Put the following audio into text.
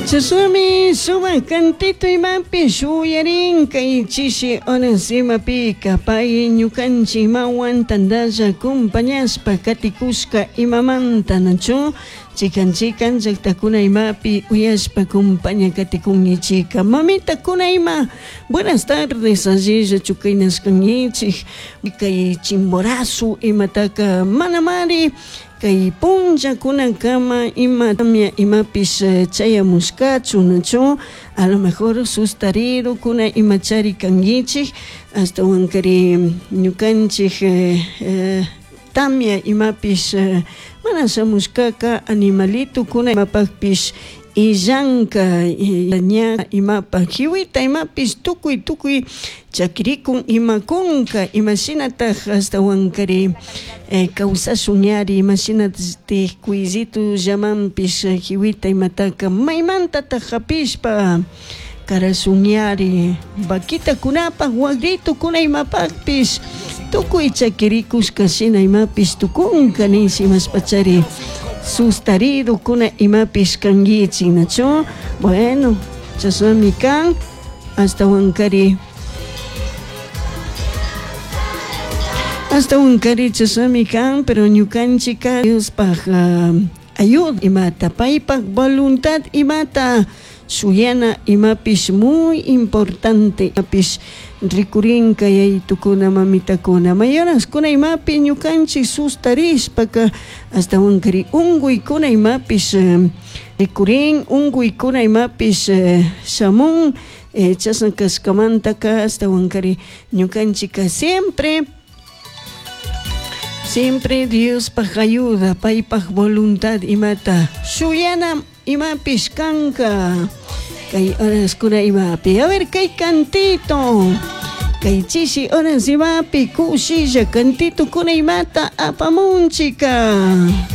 Chashnami sumak cantito imapi shuyarin kay chishi horas imapika pay ñukanchik imawan tantalla compañashpa katikushka imamanta nachu chikan chikan llaktakuna imapi uyashpa compaña katikunkichika. Mamitakuna ima buenas tardes allilla chukaynashkankichik kay Chimborazo imataka manamari kay punllakunakama ima tamia imapish chayamushkachu nachu a lo mejor sustarirukuna imachari kankichik ashtawankari ñukanchik tamia imapish mana shamushkaka animalitukuna imapakpish illanka ña imapak jiwita imapish tukuy tukuy chakirikun imakunka imashinatak ashtawankari kawsashun ñari imashinatik kuyllito llamanpish jiwita imataka maymantatak hapishpa karashun ñari vaquitakunapak wagritukuna imapakpish tukuy chakirikushka shina imapish tukunka nish imashpachari sustaridukuna imapish kankichik nachu. Bueno, chashnami kan ashtawankari ashtawankari chashnami kan, pero ñukanchika Diospaj ayuda imata paypak voluntad imata shuyana imapish muy importante imapish rikurinka yayitukuna mamitakuna mayoraskuna imapi ñukanchik sustarishpaka ashtawankari unkuykuna imapish rikurin unkuykuna imapish shamun chashna kashkamantaka ashtawankari ñukanchika siempre siempre Diospaj ayuda paypak voluntad imata shuyana imapish kanka kay horaskuna imapi. A ver kay cantito kay chishi horas imapi kushilla cantitokuna imata apamunchika.